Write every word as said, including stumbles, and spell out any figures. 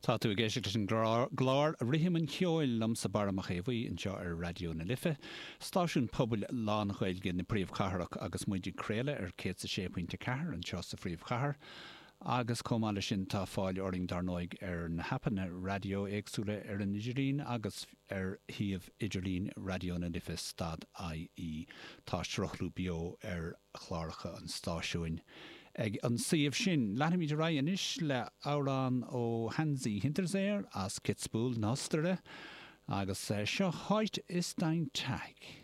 Tá tú ag éisteacht leis an gclár Rithim an Cheoil liomsa Barra Mac Aodha anseo ar Raidió na Life, stáisiún pobail lán-Ghaeilge na príomhchathrach agus muid ag craoladh ar céad sé pointe ceathair anseo sa phríomhchathair. Agus chomh maith leis sin tá fáil orainn dar ndóigh ar na haipeanna raidió éagsúla ar an idirlíon agus ar shuíomh idirlín Raidió na Life stad IE tá sruthlú beo ar chláracha an stáisiúin. Ag an suíomh sin leanfaimid ar aghaidh anois le amhrán ó Hansi Hinterseer as Kitzbühel na hOstaire agus eh, seo Heute ist ein Tag.